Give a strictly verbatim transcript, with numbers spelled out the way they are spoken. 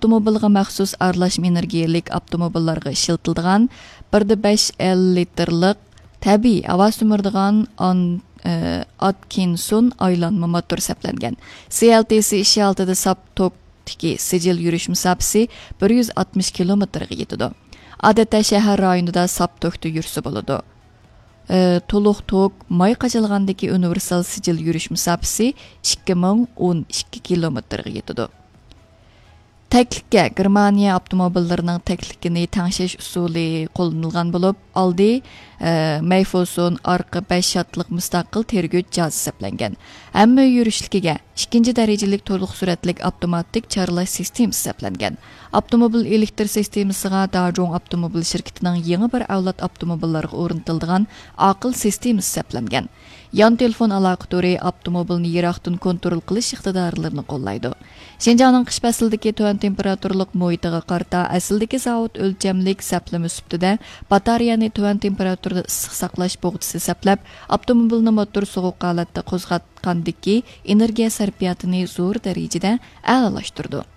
ئاپتوموبىلغا مەخسۇس ئارىلاشما ئېنېرگىيەلىك ئاپتوموبىللارغا ئىشلىتىلىدىغان بىر دە بەش ئېل لىتىرلىق تەبىئىي ھاۋا سۈمۈرىدىغان ئان-، ئە، ئاتكىنسون ئايلانما موتور سەپلەنگەن. سى ئېل تى سى ئىككى ئالتىدە ساپ توكتىكى سىجىل يۈرۈش مۇساپىسى بىر يۈز ئاتمىش كىلومېتىرغا يېتىدۇ. ئادەتتە شەھەر رايونىدا ساپ توكتا يۈرسە بولىدۇ. ئى، تولۇق توك ماي قاچىلىغاندىكى ئۇنىۋېرسال سىجىل يۈرۈش مۇساپىسى ئىككى مىڭ ئون ئىككى كىلومېتىرغا يېتىدۇ. تەكلىككە گېرمانىيە ئاپتوموبىللىرىنىڭ تەكلىكىنى تەڭشەش ئۇسۇلى قوللىنىلغان بولۇپ، ئالدى، ئى، مەيفوسون، ئارقا بەش شاتلىق مۇستەقىل تىرگۈچ جاز سەپلەنگەن. ھەممە يۈرۈشلۈكىگە ئىككىنچى دەرىجىلىك تولۇق سۈرئەتلىك ئاپتوماتىك چارلاش سىستېمىسى سەپلەنگەن. ئاپتوموبىل ئېلېكتر سىستېمىسىغا داجۇڭ ئاپتوموبىل شىركىتىنىڭ يېڭى بىر ئەۋلاد ئاپتوموبىللارغا ئورنىتىلىدىغان ئاقىل سىستېمىسى سەپلەنگەن. يان تېلېفون ئالاقە تورى ئاپتوموبىلنى يىراقتىن كونترول قىلىش ئىقتىدارلىرىنى قوللايدۇ. شىنجاڭنىڭ قىش پەسلىدىكى تۆۋەن تېمپېراتۇرىلىق مۇھىتىغا قارىتا، ئەسلىدىكى زاۋۇت ئۆلچەملىك سەپلىمە سۈپىتىدە باتارېيەنى تۆۋەن تېمپېراتۇرىدا ئىسسىق ساقلاش بۇغدىسى سەپلەپ، ئاپتوموبىلنى موتور سوغۇق ھالەتتە قوزغاتقاندىكى ئېنېرگىيە سەرپىياتىنى زور دەرىجىدە ئەلالاشتۇرىدۇ.